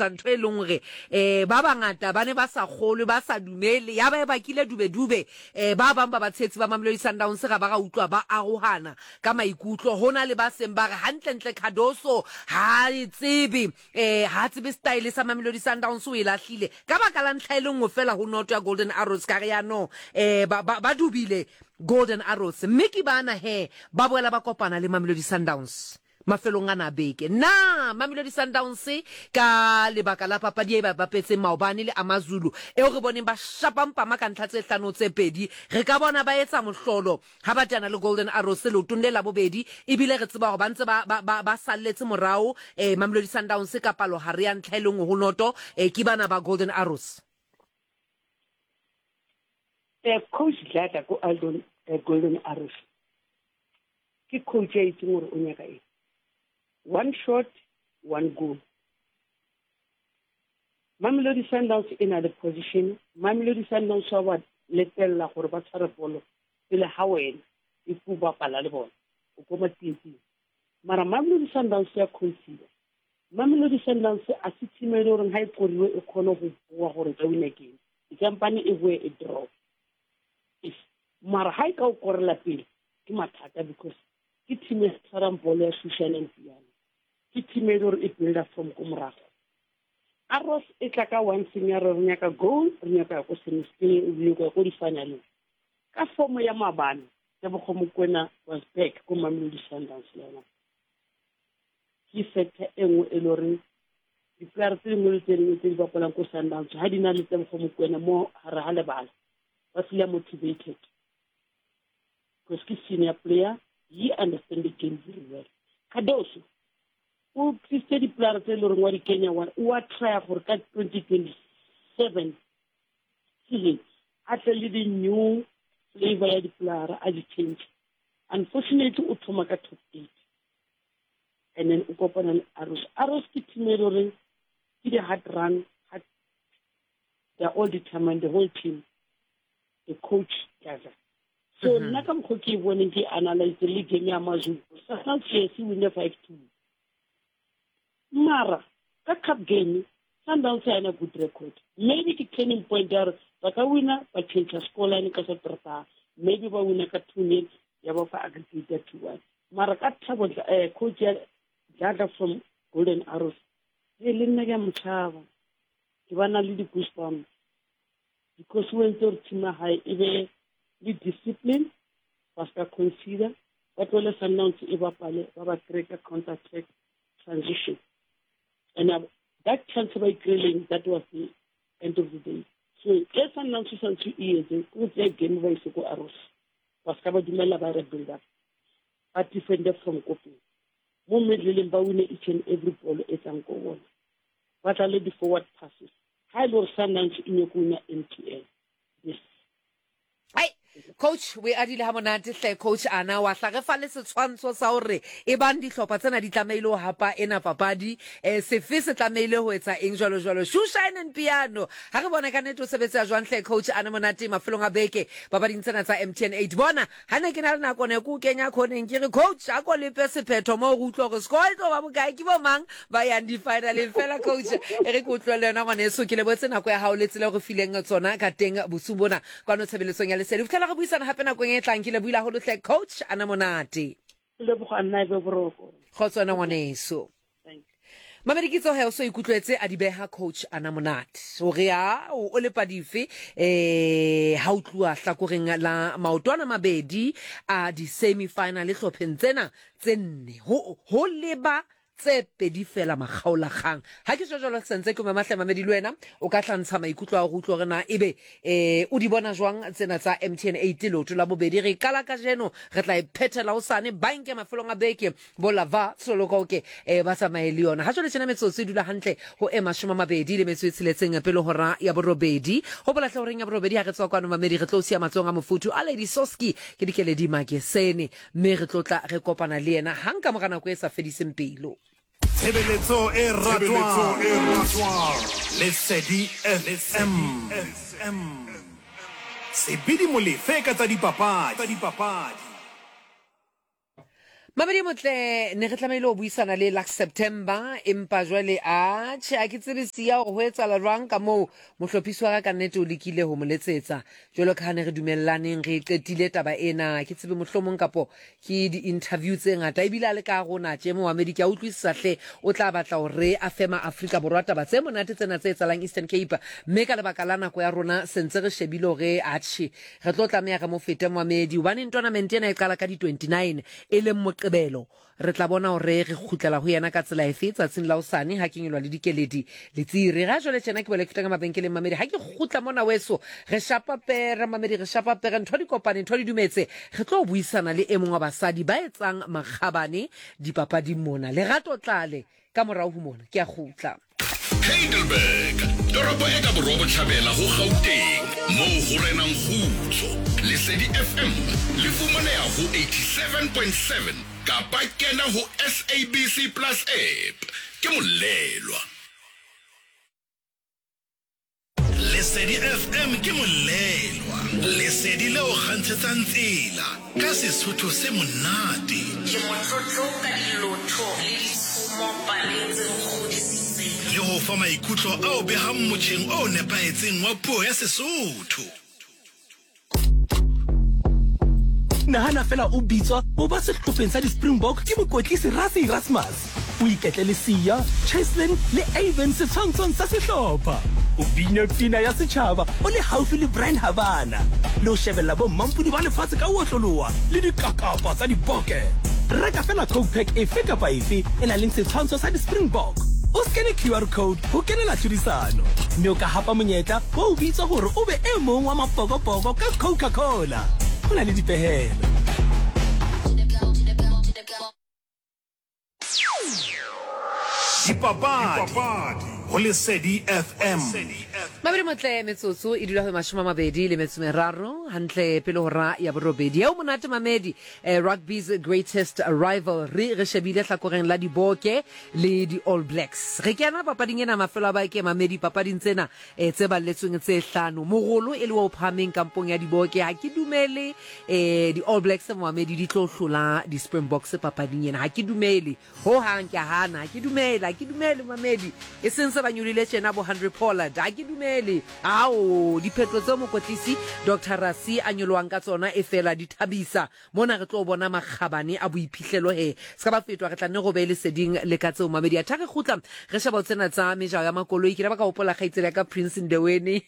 etsa ntho e leng hore um ba bangata ba ne ba sa kgolwe, ba sa dumele, ya ba e bakile dubedube. Um ba bang ba batshehetsi ba Mamelodi Sundowns ga ba ga utlwa ba arohana ka maikutlo. Ho na le ba seng ba re hantlentle Cardoso ha e tsebe, um ha a tsebe style sa Mamelodi Sundowns, o e lahlile ka baka la ntlha e le nngwe fela ho noto ya Golden Arrows. Ka re ya no, um ba, ba, ba dubile Golden Arrows, mme ke bana he ba boela ba kopana le Mamelodi Sundowns mafelong ana a beke. Na Mamelodi Sundowns ka lebaka la papadi e ba e bapetseng maobane le AmaZulu eo re boneng ba shapa mpama ka ntlha tse hlano tse pedi, re ka bona ba etsa mohlolo ha ba teana le Golden Arrows leotong le la bobedi, ebile re tseba hore ba ntse ba, ba, ba, ba salletse morao eh, Mamelodi Sundowns ka palohare ya ntlha e le nngwe ho noto eh, ke bana ba Golden Arrows. Eh, Coach Dladla ko Aldon, eh, Golden Arrows ke coach ya itseng gore o nyaka eng. One shot, one goal. Mamelodi Sundowns e na le position. Mamelodi Sundowns wa ba letella gore ba tshware bolo pele ga wena if o bapala le bona o ko matsietsing. Mara Mamelodi Sundowns ya concede. Mamelodi Sundowns a se team e le goreng ga e koriwe e kgone go boa gore ka wina game. E kampane e boe e draw. If mara ga e ka o korela pele ke mathata because ke team e tshwarang bolo ya shushan and piano. Ke team e le gore e builder from ko morago. Arrows e tla ka one thing ya re re nyaka goal, re nyaka ko semis, re nyaka ko di-finaleng. Ka form ya maabane, Tebogo Mokoena was back ko Mamelodi Sundowns le yona. Ke factor e nngwe e le goreng di-player tse dingwe le tse dingwe tse di bapalang ko Sundowns ha di na le Tebogo Mokoena mo gare ga lebala, ba feel motivated. Because ke senior player, he understand the game very well. Cardoso o tlisitse di-player tse e le goreng wa di kenya, wa o a trya gore ka 2027 season a tle le di-new flavor ya di-player a di change. Unfortunately o thoma ka top 8 and then o kopana le Arrows. Arrows ke team e le goreng ke di-hard run, hard, they are all determined, the whole team, the coach Gaza. So nna ka mokgwa ke e boneng ke analyze le game ya Mazulu, Sundowns yes e winne 5-2. Mara ka cup game Sundowns ha ena good record. Maybe ke turning point ya gore ba ka wina ba change scoreline ka Saterdag. Maybe ba wina ka 2-0 ya ba fa aggregate ya 2-1. Mara ka thabo coach ya Dladla from Golden Arrows, e le nna ke a mo tshaba. Ke ba na le di-goosebumps because o entse gore team ya hae e be le discipline, ba ska consider, ba tlohele Sundowns e bapale, ba ba kry ka counter attack transition. And that chance ba e kry-ileng, that was the end of the day. So e Sundowns e santse e etse, ke go tseya game ba ise ko Arrows, ba ska ba dumela ba re build up, ba defend from ko pele. Mo middleng ba wine each and every ball e tlang ko bona, ba tla le di-forward passes. Ha e le gore Sundowns e nyako wina MTN this. Ai, coach o e adile ha monate hle coach ana wa hla re fa le setshwantsho sa hore e bang dihlopha tsena di tlamehile ho hapa ena papadi eh, sefe se tlamehile ho etsa eng jwalo jwalo. Shoe shine and piano ha re bone ka nnete o sebetsa jwang hle coach ana monate mafelong a beke papading tsena tsa MTN 8. Bona Ha ne ke na le nako ne ke o kenya khoneng ke re coach a ko lepe sephetho moo re utlwa gore score e tlo ba bokae ke bo mang ba yang di-finaleng fela coach e re ke o tlohele yona ngwaneso ke lebotse nako ya gago le tsela o re fileng tsona ka teng bosung bona kwano tshebeletsong ya lesedi go fitlhela re buisana gape nakong e tlang ke lebohile haholo hle coach ana monate. Leboga nna e be boroko. Kgotso wena ngwaneso. Mamedi Kitso he o so ikutlwetse a di beha coach ana monate hore a o lepa dife eh ha o tluwa hlakoreng la maotwana mabedi a di semi final hlopheng tsena tse nne ho ho leba tse pedi fela makgaolakgang ha ke jwalo sentse ke mamahle mamedi le wena o ka tlantsha maikutlo a go utlwa hore na ebe eh o di bona jwang tsena tsa MTN 8 leoto la bobedi re qala kajeno re tla e phethela hosane banke mafelong a beke Bo Lava Solokoke eh, ba tsamaye le yona. Ha jwale tjena metsotso e dula hantle ho e 26 pele hora ya borobedi. Hopola hle horeng ya borobedi ha re tswa kwano mamedi re tlo siya matsohong a mofuthu a Lady Soski ke Dikeledi Makesene mme re tlo tla re kopana le yena hang ka mora nako e sa fediseng pelo. Tshebeletso e ratwang Lesedi FM. Sebidi Molefe ka tsa dipapadi. Mamedi motle ne re tlamehile ho buisana le Lux September empa jwale a tjhe a ke tsebe siya hore ho etsahala jwang ka moo mohlophisi wa ka ka nnete o lekile ho mo letsetsa jwalo ka ha ne re dumellaneng re e qetile taba ena ke tsebe mohlomong kapo ke di-interview tse ngata ebile a le ka rona tje momamedi ke a utlwisisa hle o tla batla hore a fe ma-Afrika Borwa taba tse monate tsena tse etsahalang Eastern Cape mme ka lebaka la nako ya rona sentse re shebile hore atjhe Re tlo tlameha re mo fete moamedi hobaneng tournament ena e qala ka di 29 e leng Moqebelo. Re tla bona hore re kgutlela ho yena ka tsela efe tsatsing la hosane ha ke nyolwa le dikeledi le tsiri. Ga jwale tjena ke boela ke feta ka mabenkeleng mamedi ha ke kgutla mona weso re shapa pere mamedi re shapa pere ntho di kopane ntho di dumetse. Re tlo buisana le e mong wa basadi ba etsang makgabane dipapading mona. Lerato Tlale Ka morago ho mona, ke a kgutla. Heidelberg, toropo e ka borwa-bohlabela ho Gauteng, moo ho renang kgutso. Lesedi FM le fumaneha ho 87.7 kapa kena ho SABC Plus app. Ke Molelwa. Lesedi FM ke molelwa, lesedi le o kgantshetsang tsela ka Sesotho se monate. Ke motlotlo ka dilotho le ditshomo paleng tse nkgodisitseng. Le ho fa maikutlo ao behang motjheng o nepahetseng wa puo ya Sesotho. Nahana fela o bitswa ho ba sehlopheng sa di-Springbok ke mokwetlisi Rassie Erasmus. O iketle le Siya, Cheslin le Aven setshwantshong sa sehlopha. O bine pina ya setjhaba o le haufi le Bryan Habana le ho shebella bommampodi ba lefatshe ka ho otloloha le dikakapa tsa diboke. Reka fela Coke Pack efe kapa efe e nang le setshwantsho sa di-Springbok, o skene QR code ho kenela tlhodisano, mme o ka hapa monyetla wa ho bitswa hore o be e mong wa mapokopoko ka Coca-Cola. Ho na le dipehelo. Dipapadi go Lesedi FM. Mabedi motle metsotso e dula go 23 hantle pele hora ya borobedi. Eo monate mamedi eh, rugby's greatest rivalry re shebile hlakoreng la diboke le di All Blacks. Re kena papading ena mafelo a bake mamedi papading tsena eh, tse balletsweng tse hlano. Mogolo e le wa o phahameng kampong ya diboke ha ke dumele eh, di All Blacks mamedi di tlo hlola di Springboks papading ena. Ha ke dumele Ho hang ke a hana, ha ke dumele, ha ke dumele, momamedi. E seng se ba nyolile tjena bo Handre Pollard, ha ke dumele. Ao, diphetho tseo mokwetlisi Doctor Rassie a nyolohang ka tsona e fela di thabisa. Mona re tlo bona makgabane a boiphihlelo he. Se ka ba fetwa, re tla nne re o behe leseding le ka tseo, momamedi. Athe ha re kgutla, re sheba ho tsena tsa mejaho ya makoloi. Ke ne ba ka hopola kgaitsedi ya ka Prince Ndeweni,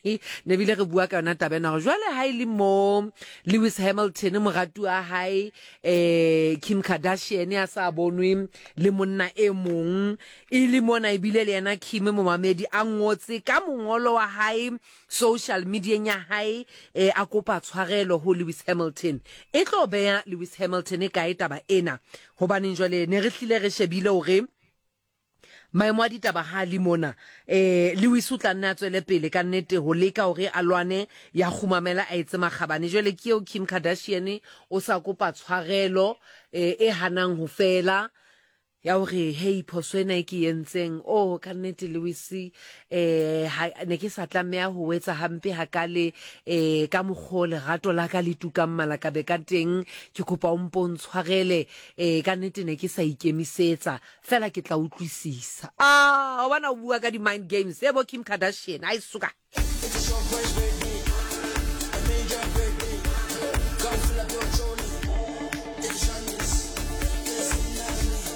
ne bile re bua ka yona taba ena hore jwale ha e le mo Lewis Hamilton moratuwa hae eh Kim Kardashian a sa bonwe le monna e mong e le mona ebile le yena Kim momamedi a ngotse ka mongolo wa hae social media ya hae eh, a kopa tshwarelo ho Lewis Hamilton e tlo beya Lewis Hamilton kae taba ena hobaneng jwale ne re hlile re shebile hore Maemo a ditaba ha a le mona, eh, Lewis o tla nne a tswele pele ka nnete ho leka hore a lwane ya kgumamela a etse makgabane. Jwale ke eo Kim Kardashian o sa kopa tshwarelo eh, e hanang ho fela ya hore hei phoso ena e ke entseng oh ka nnete Lewis eh ha ne ke sa tlameha ho etsa hampe hakale eh ka mokgo lerato la ka le tukang malakabe ka teng ke kopa o mpo ntshwarele eh ka nnete ne ke sa ikemisetsa Fela ke tla utlwisisa. Ah, wa bona o bua ka di-mind games. E bo Kim Kardashian, ai suka.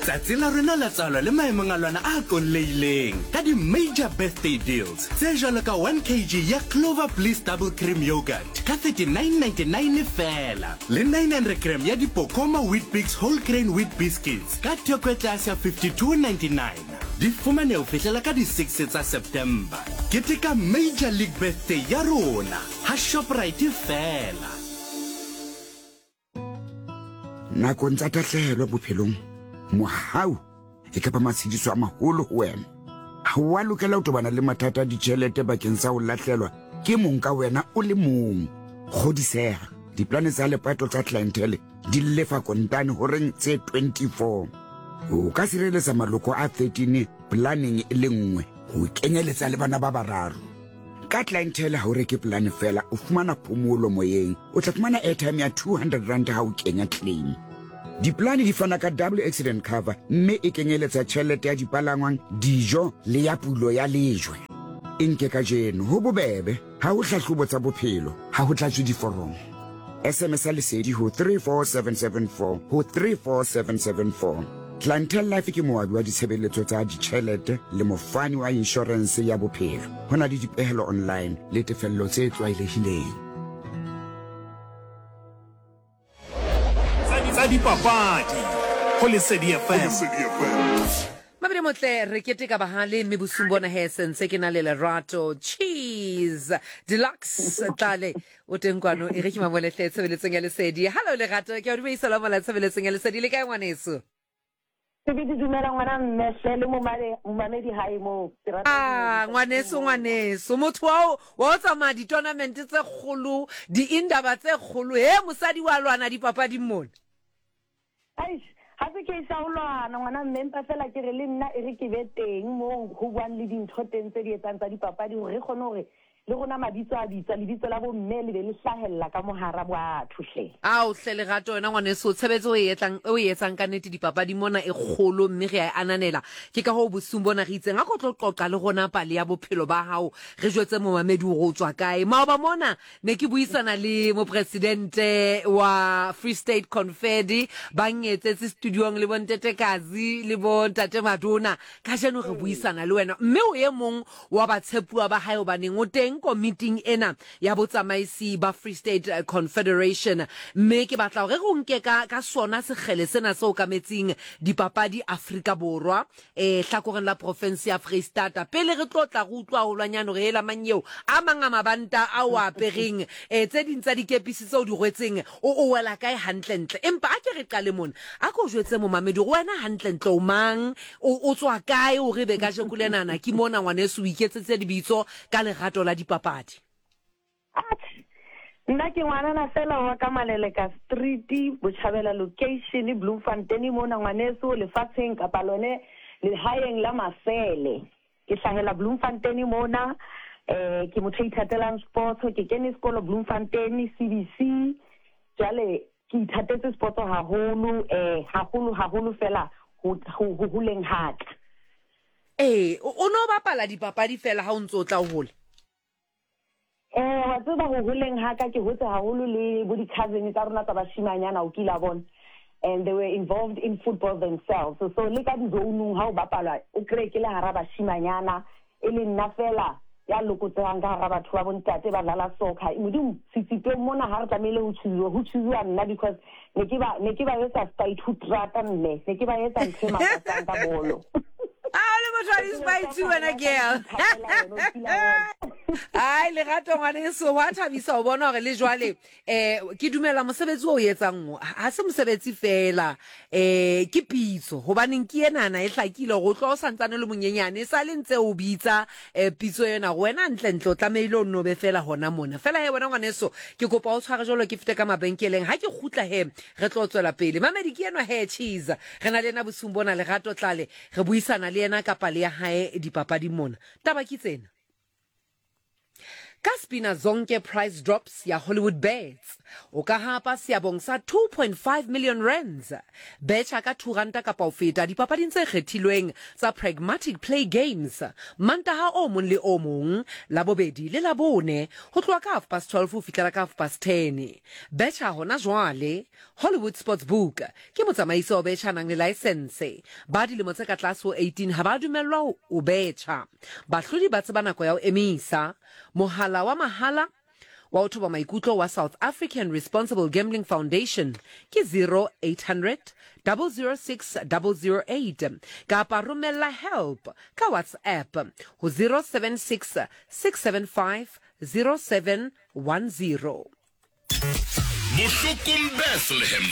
Tsatsi la rona la tswalo le maemong a lona a kolleileng ka di-major birthday deals tse jwalo ka 1 kg ya Clover Bliss Double Cream Yogurt ka 39.99 feela le 900 gram ya Dipokoma Weet-Bix Whole Grain Wheat Biscuits Ka theko e tlase ya 52.99, di fumane ho fihlela ka di 6 tsa September. Keteka Major League Birthday ya rona ha Shoprite feela. Nakong tsa tahlehelo bophelong, mohau e ka ba matshediso a maholo ho wena. Ha o a lokela ho tobana le mathata a ditjhelete bakeng sa ho lahlelwa ke mong ka wena o le mong. Kgodiseha, diplane tsa lepato tsa Clientele di lefa kontane horeng tse 24. O ka sireletsa maloko a 13 planeng e le nngwe ho kenyeletsa le bana ba bararo. Ka Clientele ha o reke polane fela, o fumana phomolo moyeng. O tla fumana airtime ya 200 rand ha o kenya claim. Diplane di fana ka double accident cover mme e kenyeletsa tjhelete ya dipalangwang, dijo le ya pulo ya lejwe. E nke kajeno, ho bobebe, ha ho hlahlobo tsa bophelo, ha ho tlatswe diforomo. SMS-a Lesedi ho 34774 ho 34774. Clientele Life ke moabi wa ditshebeletso tsa ditjhelete le mofani wa inshorense ya bophelo. Ho na le dipehelo online le tefello tse tlwaelehileng. Tsa dipapadi go Lesedi FM. Mabedi motle re keteka bahale mme bosung bona he sentse ke na le Lerato Cheese Deluxe Tlale o teng kwano e re ke mamolehle tshebeletsong ya Lesedi. Hello Lerato, ke a o dumedisa la mola tshebeletsong ya Lesedi le kae ngwaneso? Sebete dumela ngwana mme hle le momale momamedi hae moo ke rata Ah, ngwaneso ngwaneso motho wa o wa o tsamaya di-tournament tse kgolo di-indaba tse kgolo he mosadi wa lwana dipapading mona. Eish ga se case ya go lwana ngwana mme empa fela ke re le nna e re ke be teng moo go buang le dintho teng tse di etsang tsa dipapadi gore re kgone gore Le rona mabitso a bitswa, lebitso la bomme le be le hlahella ka mohara batho hle. Ao hle Lerato wena ngwaneso, tshebetso o e etlang, o e etsang ka nnete dipapading mona e kgolo mme re a e ananela. Ke ka hoo bosiung bona re itseng a ko tlo qoqa le rona pale ya bophelo ba hao, re jwetse momamedi hore o tswa kae. Maoba mona ne ke buisana le mopresidente wa Free State Confed, ba nngetsetse studiong le bontete Kazi le bontate Madona. Kajeno re buisana le wena mme o e mong wa batshepuwa ba hae hobaneng o teng komiting ena ya botsamaisi ba Free State Confederation. Mme ke batla hore re o nke ka, ka sona sekgele sena se okametseng dipapadi Afrika Borwa, eh, hlakoreng la profense ya Freistata. Pele re tlo tla re utlwa haholwanyane hore hela mang eo, a mang a mabanta a o a apereng, eh, tse ding tsa dikepisi tse o di rwetseng, o, o wela kae hantlentle. Empa a ke re qale mona. A ko jwetse momamedi hore wena hantlentle o mang, O, o tswa kae o re be kajeko lenana ke mona ngwaneso o iketsetse lebitso ka lerato la dipapadi? Atjhe, nna ke ngwanana feela wa ka Maleleka Street, Botjhabela Location, Bloemfontein mona ngwaneso lefatsheng kapa lone lehaeng la Masele. Ke hlahela Bloemfontein mona, eh ke motho a ithatelang sports, ke kene sekolo Bloemfontein CBC. Jwale Ke ithatetse sports haholo, eh, haholo, haholo fela ho, ho, ho holeng ha ka. Ee, o, o ne o bapala dipapadi fela ha o ntse o tla o hola? Eh, wa tseba ho holeng ha ka ke hotse haholo le bo di-cousin tsa rona tsa bashimanyana, o kile wa bona. And they were involved in football themselves. So, le ka di-zone-ung ha o bapalwa, o kry-e ke le hara bashimanyana, E le nna feela ya lokotsehang ka hara batho ba bontate ba dlala soccer. Modimo, setsitong mona ha re tlamehile ho choosiwa, ho choosiwa nna because ne ke ba, ne ke ba etsa spaithutrata mme, ne ke ba etsa ntho e makatsang ka bolo. A o le motho wa di-spite wena girl. Ai Lerato ngwaneso, hwa thabisa ho bona hore le jwale Eh, ke dumela mosebetsi o etsang o ha se mosebetsi fela, eh ke pitso, hobaneng ke enana e hlakile hore o tloha o santsane o le monyenyane, e sa le ntse o bitsa eh pitso ena hore wena ntle-ntle o tlamehile o nno be fela hona mona. Fela he wena ngwaneso, ke kopa o tshware jwalo ke fete ka mabenkeleng, ha ke kgutla he re tlo tswela pele. Mamedi ke enwa he Cheese, re na le yena bosiung bona, Lerato Tlale, re buisana le yena ka pale ya hae dipapading mona. Taba ke tsena. Ka Spina Zonke Price Drops ya Hollywood Bets, o ka hapa seabong sa 2.5 million rands. Betjha ka R2 kapa ho feta dipapading tse kgethilweng tsa Pragmatic Play Games Mantaha o mong le o mong, Labobedi le Labone ho tloha ka 12:30 ho fihlela ka 10:30. Betjha hona jwale. Hollywood Sportsbook ke motsamaisi wa ho betjha a nang le laesense. Ba dilemo tse ka tlase ho 18 ha ba dumellwa ho betjha. Bahlodi ba tseba nako ya ho emisa. Mohala wa mahala wa ho thoba maikutlo wa South African Responsible Gambling Foundation ke 0800 006 008 kapa romella help ka WhatsApp ho 076 675 0710. Bohlokong Bethlehem,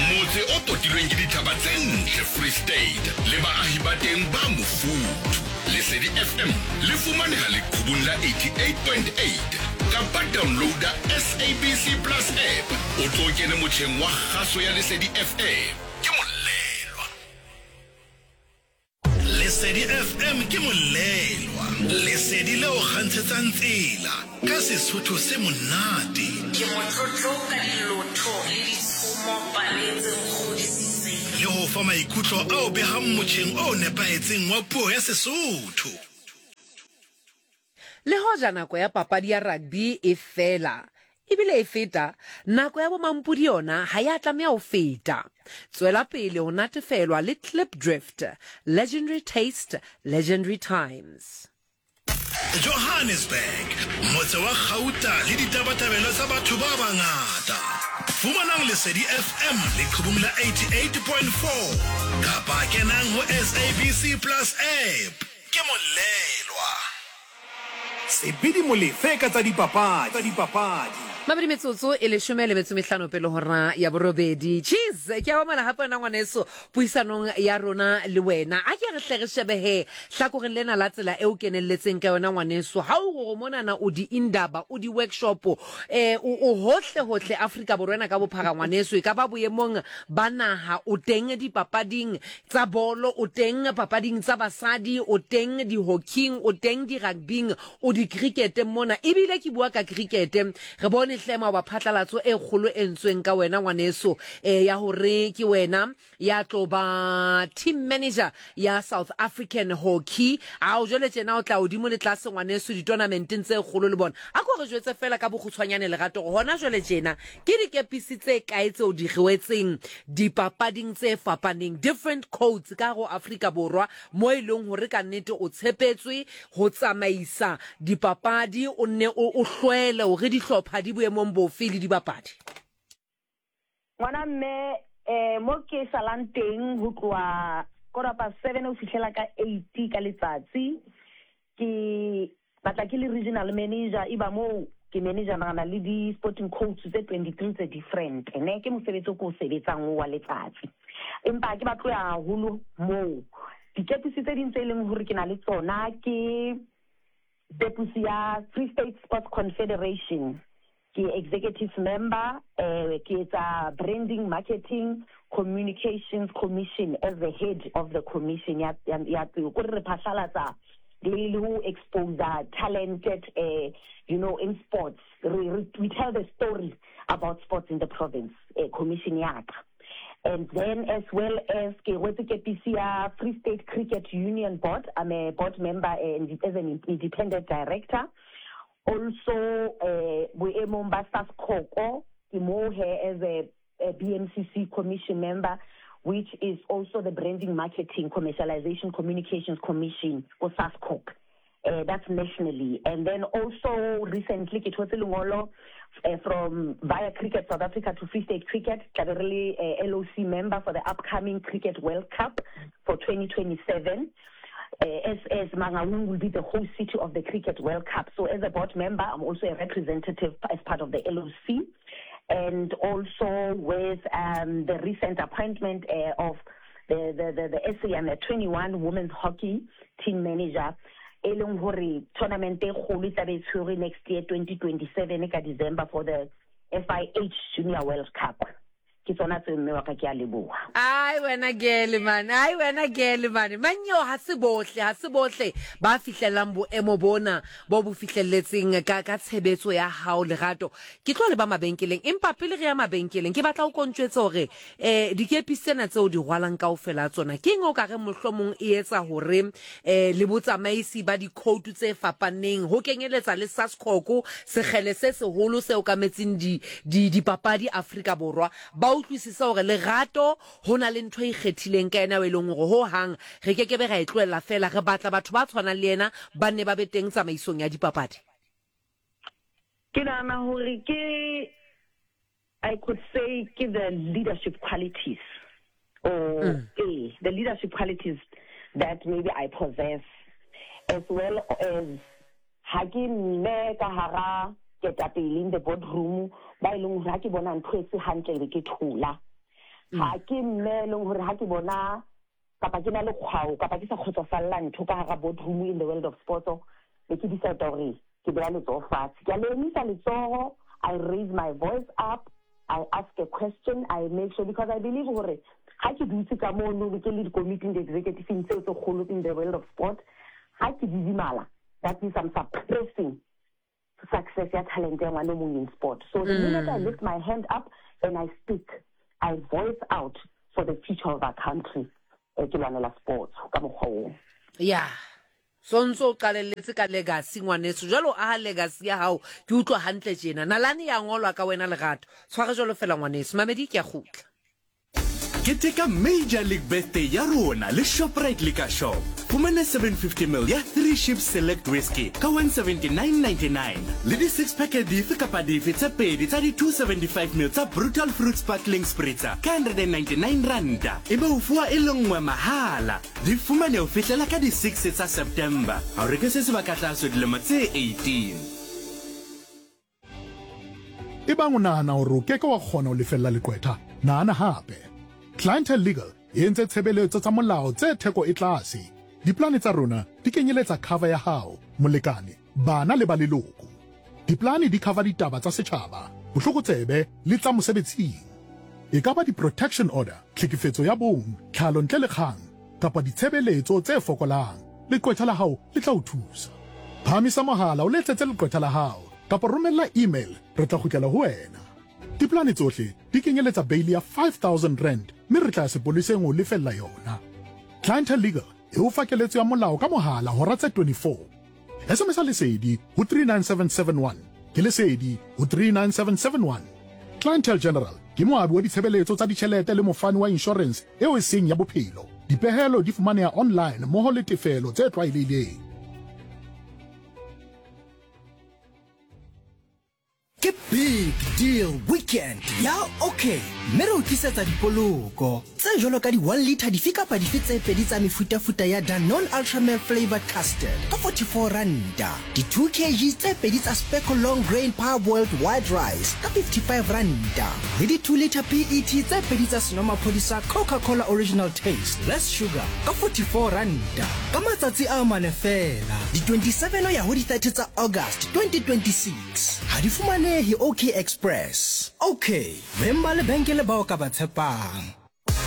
motse o potilweng ke dithaba tse ntle Free State le baahi ba teng ba mofuthu. Lesedi FM le fumaneha leqhubung la 88.8 kapa downloada SABC Plus app o tlo kene motjheng wa kgaso ya Lesedi FM. Ke molelwa. Lesedi FM ke molelwa. Lesedi leo kgantshetsang tsela ka Sesotho se monate. Ke motlotlo ka dilotho le ditshomo pale tse nkgodisitseng. Le ho fa maikutlo ao behang motjheng o nepahetseng wa puo ya Sesotho. Le hoja nako ya papadi ya rugby e fela ebile e feta, nako ya bomampodi yona ha ya tlameha ho feta. Tswela pele ho natefelwa le Klipdrift, legendary taste, legendary times. Johannesburg, motse wa kgauta le ditabatabelo tsa batho ba bangata. Fumanang Lesedi FM leqhubung la 88.4 kapa kenang ho SABC Plus app. Ke molelwa. Sebidi Molefe ka tsa dipapadi. Mabedi metsotso e leshome le metso mehlano pele hora ya borobedi. Cheese, ke a amogela gape wena ngwaneso puisanong ya rona le wena. A ke re hle re shebe he hlakoreng lena la tsela e o kenelletseng ka yona ngwaneso. Ha o gore monana o di indaba, o di workshop, eh o o hohle hohle Afrika Borwa ena ka bophara ngwaneso, e ka ba boemong ba naha o teng dipapading tsa bolo, o teng papading tsa basadi, o teng di-hockeyng, o teng di-rugbyng, o di-cricketeng mona. Ebile ke bua ka cricket, re bone hle maoba phatlalatso e kgolo e entsweng ka wena ngwaneso, e, ya hore ke wena ya tlo ba team manager ya South African Hockey. Ao, jwale tjena o tla hodimo le tlase ngwaneso ditonamenteng tse kgolo le bona. A ko re jwetse feela ka bokgutshwanyane Lerato hore hona jwale tjena Ke dikepisi tse kae tseo di rwetseng dipapading tse fapaneng, different codes, ka hare ho Afrika Borwa mo e leng hore ka nnete o tshepetswe ho tsamaisa dipapadi, o nne o o hlwele hore dihlopha di boemong bofe le dibapadi? Ngwana mme eh mo ke salang teng ho tloha quarter past seven ho fihlela ka eight ka letsatsi Ke batla ke le regional manager, eba moo ke managerana le di-sporting coach tse 23 tse different, ne ke mosebetsi o ke o sebetsang oo wa letsatsi. Empa ha ke batle ho ya haholo moo. Dikepisi tse ding tse leng hore ke na le tsona ke kepusi ya Free State Sports Confederation. Ke executive member, ke etsa branding, marketing, communications commission as the head of the commission ya ya ya tseo. Kore re phahlalatsa le le ho exposer talented you know in sports. Re re we tell the story about sports in the province, commission ya ka. And then as well as ke rwetse kepisi ya Free State Cricket Union Board, I'm a board member and as an independent director. Also boemong ba SASCOCO ke moo he as a BMCC commission member which is also the Branding Marketing Commercialization Communications Commission ko SASCOC that's nationally. And then also recently ke thotse lengolo from via Cricket South Africa to Free State Cricket tla be re le LOC member for the upcoming Cricket World Cup for 2027. As, as Mangaung will be the host city of the Cricket World Cup. So as a board member, I'm also a representative as part of the LOC. And also with um, the recent appointment uh, of the, the, the, the SA Under 21 Women's Hockey Team Manager, e leng hore tournament e kgolo e tlabe e tshwerwe next year 2027 ka December for the FIH Junior World Cup. Ke tsona tseo mme wa ka ke a leboha. Ai wena gele man, ai wena gele man. Manyeo ha se bohle, ha se bohle ba fihlellang boemo bona bo bo fihlelletseng ka ka tshebetso ya hao Lerato. Ke tlo leba mabenkeleng empa pele re ya mabenkeleng ke batla o ko ntjwetse hore eh dikepisi tsena tseo di rwalang kaofela tsona ke eng o ka reng mohlomong e etsa hore eh le botsamaisi ba dikhoutu tse fapaneng ho kenyeletsa le SASCOC sekgele se seholo se okametseng di, di, dipapadi Afrika Borwa, ba utlwisise hore Lerato ho na le ntho e ikgethileng ka yena eo e leng hore ho hang re ke ke be ra e tlohella feela. Re batla batho ba tshwanang le yena ba nne ba be teng tsamaisong ya dipapadi. Ke nahana hore ke, I could say ke the leadership qualities or ee, the leadership qualities that maybe I possess as well as Ha ke mme ka hara ketapele in the board room ba e leng hore ha ke bona ntho e se hantle ebe ke thola. Ha ke mme e leng hore ha ke bona kapa ke na le kgwao kapa ke sa kgotsofalla ntho ka hara board room in the world of sports be ke decide hore ke beha letsoho fatshe. Ke a le emisa letsoho, I raise my voice up, I ask a question, I make sure because I believe hore ha ke dutse ka mono ke le dikomiting, di-executive-ing tseo tse kgolo in the world of sport, ha ke didimala. That means I'm suppressing success ya talent ya ngwana o mong in sport. So the minute I lift my hand up and I speak, I voice out for the future of our country. Eh, ke lwanela sports ka mokgwa oo. Ya. So ntso o qalelletse ka legacy ngwaneso. Jwale o aha legacy ya hao. Ke utlwa hantle tjena. Nalane ya ngolwa ka wena Lerato. Tshware jwalo fela ngwaneso. Mamedi ke a kgutla. Keteka Major League Birthday ya rona le Shoprite Liquor Shop. Fumana 750ml ya Three Ships Select Whisky ka 179.99 le di six pack dife kapa dife tse pedi tsa di 275ml tsa Brutal Fruit Sparkling Spritzer ka 199 ranta, ebe o fuwa e le nngwe mahala. Di fumane ho fihlela ka di 6 tsa September. Ha o reke se se ba ka tlaso dilemo tse 18. Ebang o nahana hore o ke ke wa kgona ho lefella leqwetha, nahana hape. Clientele Legal e entse tshebeletso tsa molao tse theko e tlase. Diplane tsa rona di kenyeletsa cover ya hao, molekane, bana le ba leloko. Diplane di cover ditaba tsa setjhaba, bohlokotsebe le tsa mosebetsing. E ka ba di-protection order, tlhekefetso ya bong, tlhalo ntle le kgang, kapa ditshebeletso tse fokolang, leqwetha la hao le tla o thusa. Phahamisa mohala o letsetse leqwetha la hao kapa romella email re tla kgutlela ho wena. Diplane tsohle di kenyeletsa beili ya R5000 mme re tla ya sepoleseng ho o lefella yona. Clientele Legal e o fa keletso ya molao ka mohala hora tse 24. SMS-a Lesedi ho 39771. Ke Lesedi ho 39771. Clientele General ke moabi wa ditshebeletso tsa ditjhelete le mofani wa inshorense eo e seng ya bophelo. Dipehelo di fumaneha online mmoho le tefelo tse tlwaelehileng. Ke Big Deal Weekend ya OK mme re o tlisetsa dipoloko tse jwalo ka di 1 litre dife kapa dife tse pedi tsa mefutafuta ya Danone Ultramel Flavoured Custard ka 44 ranta, di 2 kg tse pedi tsa Specco Long Grain Parboiled White Rice ka 55 ranta le di 2 litre PET tse pedi tsa senomaphodi sa Coca-Cola Original Taste Less Sugar ka 44 ranta ka matsatsi a mane feela, di 27 ho ya ho di 30 tsa August 2026. Ha di fumanehe OK Express. OK, beng ba lebenkele bao ka ba tshepang.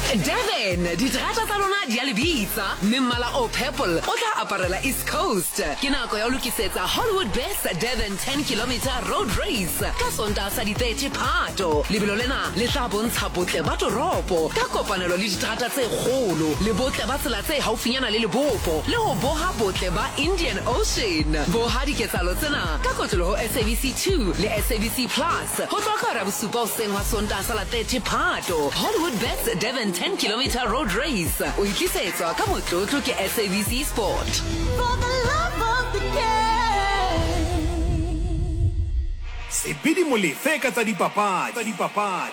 Durban, diterata tsa lona di a le bitsa, mme mmala o purple o tla aparela East Coast. Ke nako ya ho lokisetsa Hollywood Best Durban 10 Kilometre Road Race ka Sontaha sa di 30 Phato. Lebelo lena le tla bontsha botle ba toropo ka kopanelo le diterata tse kgolo le botle ba tsela tse haufinyana le lebopo le ho boha botle ba Indian Ocean. Boha diketsahalo tsena ka kotloloho ho SABC 2 le SABC Plus ho tloha ka hora ya bosupa hoseng hwa Sontaha sa la 30 Phato. Hollywood Bets Durban 10 Kilometre Road Race o e tlisetswa ka motlotlo ke SABC Sport. For the love of the game. Sebidi Molefe ka tsa dipapadi.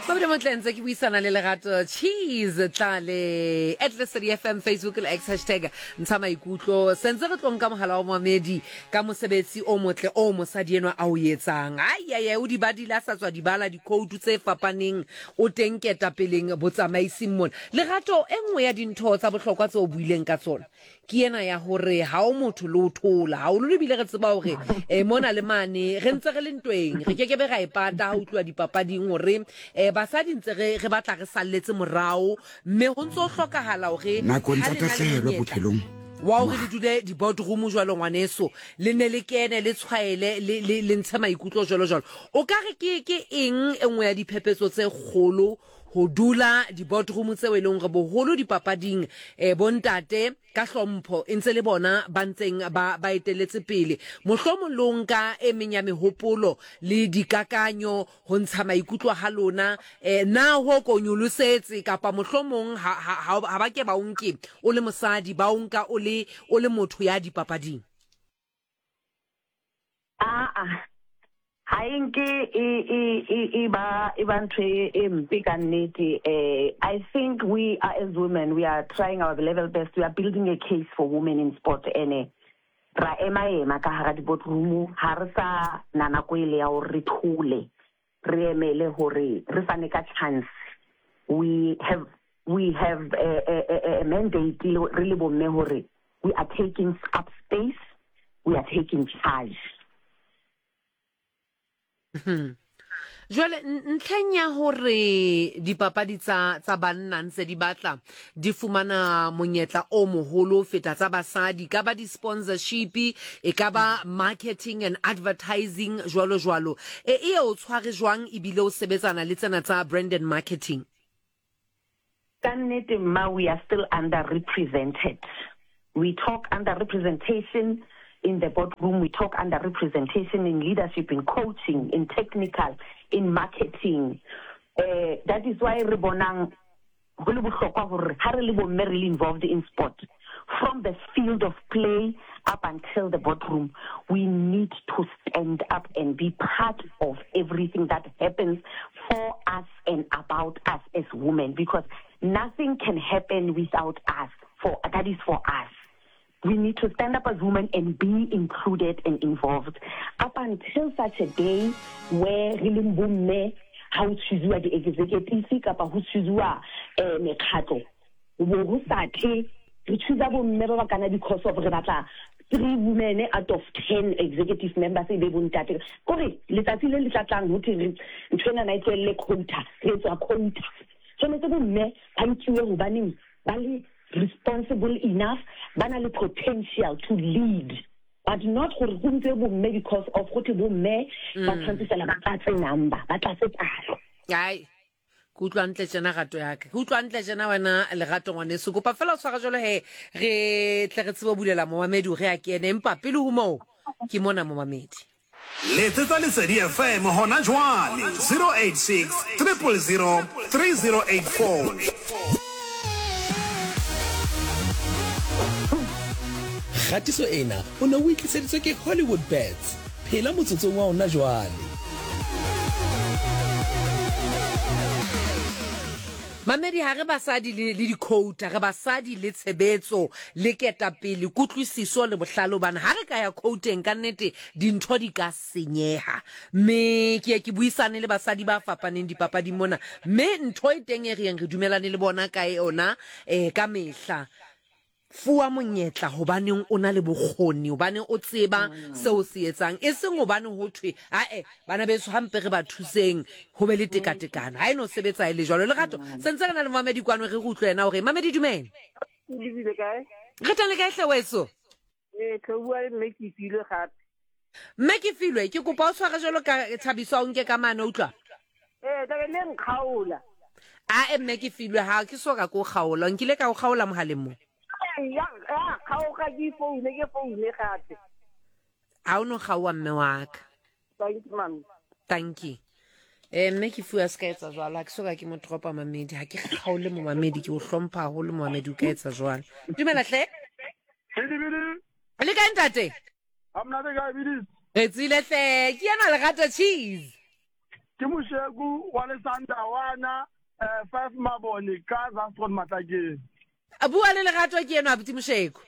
Mabedi Motle ntse ke buisana le Lerato Cheese Tlale at Lesedi FM Facebook le X hashtag ntsha maikutlo. Sentse re tlo nka mohala wa moamedi ka mosebetsi o motle o mosadi enwa a o etsang. Ai ai ai o di badile a sa tswa di bala dikhoutu tse fapaneng o teng ketapeleng botsamaising mona. Lerato e nngwe ya dintho tsa bohlokwa tse o buileng ka tsona ke ena ya hore ha o motho le o thola haholo ebile re tseba hore eh, mona le mane re ntse re le ntweng re ke ke be ra e pata ha o tluwa dipapading hore eh, basadi ntse re re batla re salletse morao mme ho ntse ho hlokahala hore Nakong ha tsa le na le tahlehelo monyetla bophelong, wa hore le dule di-boardroom jwalo ngwaneso le ne le kene le tshwaele le, le, le ntshe maikutlo jwalo jwalo o ka re ke ke eng e nngwe ya diphephetso tse kgolo Ho dula di-boardroom tseo e leng hore boholo dipapading eh, bontate ka hlompho e ntse le bona ba ntseng ba, ba eteletse pele. Mohlomong le ho nka e meng ya mehopolo le dikakanyo ho ntsha maikutlo ha lona eh, na ho ko nyolosetse kapa mohlomong ha, ha, ha, ha ba ke ba o nke o le mosadi ba o nka o le, o le motho ya dipapading? Aa, ha e nke e, e, e, e ba, e ba ntho e, e mpe ka nnete. Eh, I think we are as women, we are trying our level best. We are building a case for women in sport. Ene ra ema ema ka hara di-boardroom, ha re sa na nako ele ya hore re thole, re emele hore re fane ka chance. We have, we have a, a, a, a mandate re le bomme hore we are taking up space, we are taking charge. Hmm. Jwale ntlheng ya hore dipapadi tsa tsa banna ntse di batla di fumana monyetla o moholo ho feta tsa basadi, ka ba di-sponsorship, e ka ba marketing and advertising jwalo jwalo, e e o tshware jwang ebile o sebetsana le tsena tsa brand and marketing? Ka nnete mma we are still under represented. We talk under representation in the boardroom, we talk under representation in leadership, in coaching, in technical, in marketing. Eh, that is why re bonang go le bohlokwa gore ha re le bomme re le involved in sport from the field of play up until the boardroom, we need to stand up and be part of everything that happens for us and about us as women, because nothing can happen without us. For that is for us. We need to stand up as women and be included and involved. Up until such a day where re leng bomme ha ho choosiwa di-executive kapa ho choosiwa eh, mekgatlo, bo ho sa tle re choosa bomme ba ba kana because of re batla three women out of 10 executive members e be bontate. Kore letsatsi le le tla tlang ho thwe ntho ena e tlohelle quota, re etswa quota. Tshwanetse bomme ba nkiwe hobaneng ba le responsible enough, ba na le potential to lead, but not gore go ntse bomme because of go thwe bomme ba tshwanetse fela ba tlatse number, ba tlatse palo. Ai, ke utlwa ntle tjena rato ya ka, ke utlwa ntle tjena wena Lerato ngwaneso. Kopa fela o tshwara jwalo he, re tle re tsebe ho bulela momamedi hore a kene, empa pele ho moo ke mona momamedi. Letsetsa Lesedi FM hona jwale 086 000 3084. Kgatiso ena o ne o e tliseditswe ke Hollywood Bets. Phela motsotsong wa ona jwale. Mamedi, ha re basadi le, le dikhouta, re basadi le tshebetso, le ketapele, kutlwisiso le bohlale, hobane ha re ka ya khouteng ka nnete dintho di ka senyeha. Mme ke ye ke buisane le basadi ba fapaneng dipapading mona, mme ntho e teng e re yeng re dumelane le bona ka yona eh, ka mehla, Fuwa monyetla hobaneng o na le bokgoni, hobane o tseba seo o se etsang, e seng hobane ho thwe, ae, bana beso ha mpe re ba thuseng ho be le tekatekano. Ha e no sebetsa e le jwalo. Lerato, se ntse re na le momamedi kwano, re re utlwe yena hore, Mamedi dumela. Lebile kae? Re teng le kae hle weso? Ee, tlho bua le mme Kefilwe gape. Mme Kefilwe, ke kopa o tshware jwalo ka Thabiso a o nke ka mane, utlwa? Ee, tlabe le nkgaola. Ae mme Kefilwe, ha ke so ka ke o kgaola. Nkile ka o kgaola mohaleng mo? Ee, ya, ya kgaoga ke foune, ke foune gape. Ha o no kgaowa mme wa ka. Thank you, mami. Thank you. Eh, mme ke fuwa se ka etsa jwalo, ha ke so ka ke mo dropa mamedi, ha ke kgaole momamedi, ke o hlompha haholo momamedi, o ka etsa jwalo. Dumela hle. Le kae ntate? Ha monate kae Bidis? Re tswile hle, ke ena Lerato Cheese. Ke Mosheku wa Lesandawana, 5 Mabone ka Zastron Matlakeng. Bua le Lerato ke enwa abuti Mosheku.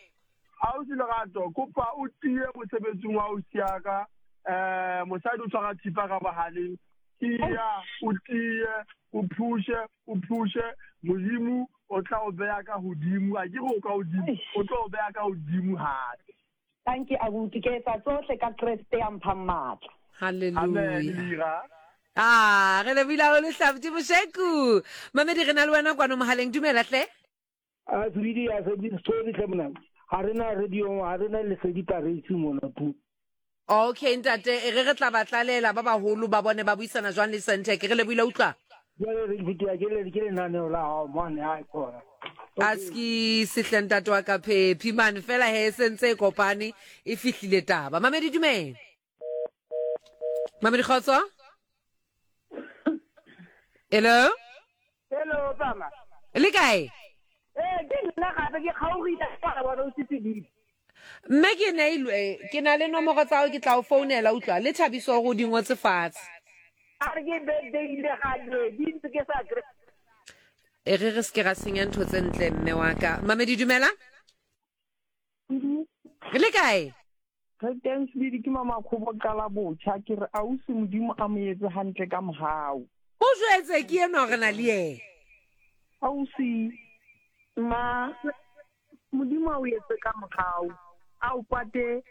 Ausi Lerato, kopa o tiye mosebetsing wa ausi ya ka. Mosadi o tshwara thipa ka bohaleng. Tiya, o tiye, o phushe, o phushe. Modimo o tla o beha ka hodimo. A ke re o ka hodimo, o tlo o beha ka hodimo hape. Tanki abuti, ke etsa tsohle ka Kreste ya mphang matla. Hallelujah. Ah, re lebohile haholo hle abuti Mosheku. Mamedi re na le wena kwano mohaleng, dumela hle. A tsebidi ya se di story hle mona. Ha re na radio, ha re na lesedi paresi mona tu. Okay ntate, e re re tla ba tlalela ba baholo ba bone ba buisana jwang le Sentech. Re lebohile utlwa. Jwale re fetiwa ke le ke lenaneo la hao mane ha khona. Aski sehle ntate wa ka phephi mane fela he se ntse e kopane e fihlile taba. Mamedi dumela. Mamedi kgotso. Hello. Hello mama. Le kae? Eh ke nna gape ke kgaogile ka bona o sitse Mme ke neilwe ke na le nomoro tsa hao ke tla o founela utlwa le Thabiso hore o di ngotse fatshe. A re ke birthday ile ga di ntse ke sa kry. E re re se ke ra senya ntho tse ntle mme wa ka. Mamedi dumela. Le kae? Re teng Sebidi ke mama Khobo qala botjha ke re ausi Modimo a mo etse hantle ka mohau. O jwetse ke enwa re na le yena. Ausi ma Modimo a o etse ka mohau a o pate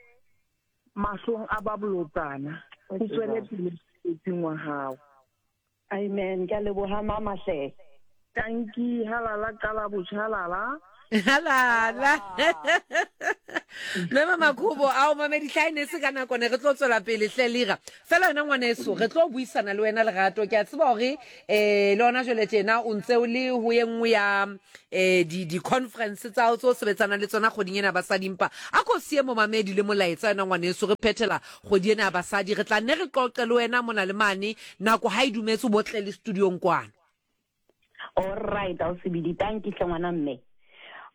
mahlong a ba bolotsana o tswele pele mosebetsing wa hao. Amen. Ke a leboha mama hle. Tanki halala qala botjha halala. Halala. Mme Mamakhubo ao mamedi tlha e ne se ka nako ne re tlo tswela pele hle lira. Fela wena ngwaneso re tlo buisana le wena Lerato ke a tseba hore eh le hona jwale tjena o ntse o le ho ye nngwe ya eh di di conference tsa hao tse o sebetsanang le tsona kgweding ena ya basadi empa a ko siye momamedi le molaetsa wena ngwaneso re phethela kgwedi ena ya basadi re tla nne re qoqe le wena mona le mane nako ha e dumetse o bo tle le studiong kwano. Alright ausi Tanki hle ngwana mme.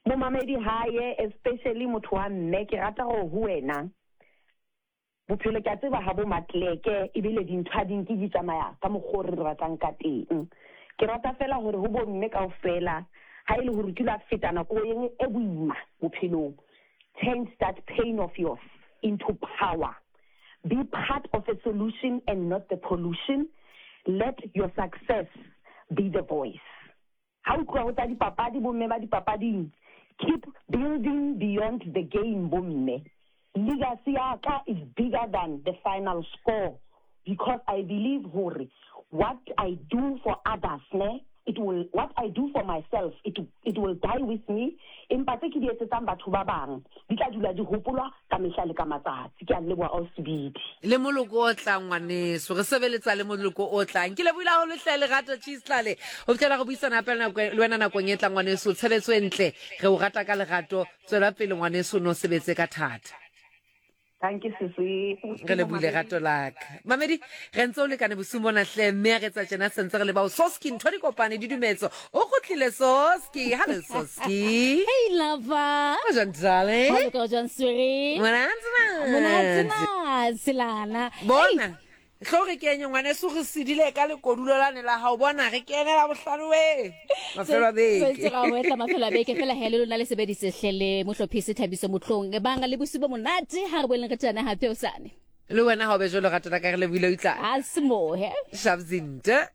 Momamedi haye especially motho wa mme ke rata gore ho wena bophelo ke a tseba ha bo matleke ebile dintho ha di nke di tsamaya ka mokgwa o re ratang ka teng. Ke rata fela hore ho bo mme kaofela ha e le hore o kile wa feta nako e boima bophelong, change that pain of yours into power. Be part of a solution and not the pollution. Let your success be the voice. Ha o tloha ho tsa dipapadi, bomme ba dipapading, keep building beyond the game bomme. Legacy ya ka is bigger than the final score because I believe hore what I do for others ne, it will, what I do for myself it, it will die with me, empa tse ke di etsetsang batho ba bang di tla dula di hopolwa ka mehla le ka matsatsi. Ke a leboha Ausi Bidi. Le moloko o tlang ngwaneso, re sebeletsa le moloko o tlang. Ke lebohile haholo hle Lerato Cheese Tlale ho fihlela re buisana hape le wena nakong e tlang ngwaneso. Tshebetso e ntle, re o rata ka lerato. Tswela pele ngwaneso, o no sebetse ka thata. Dankie sisi. Re lebohile rato la ka. Mamedi, re ntse o lekane bosiung bona hle, mme re tsa tjena sentse re le bao. Soski, ntho di kopane di dumetso. O kgutlile Soski. Hello Soski. Hey lover. O jwang darling? Ho loka o jwang sweetie? Monate Monate na selana. Bona. Hlo re kenye ngwaneso re sedile ka lekodulo lane la hao bona re kene la bohlano we. Mafelo a beke. Se ra wetla mafelo a beke fela he le lona le sebedise hle le mohlophisi Thabiso Motlong. Banga le bosiu bo monate ha re boeleng re tjana hape hosane. Le wena ha o be jwalo rato la ka re lebohile o itla. A se mohe. Shabzinte.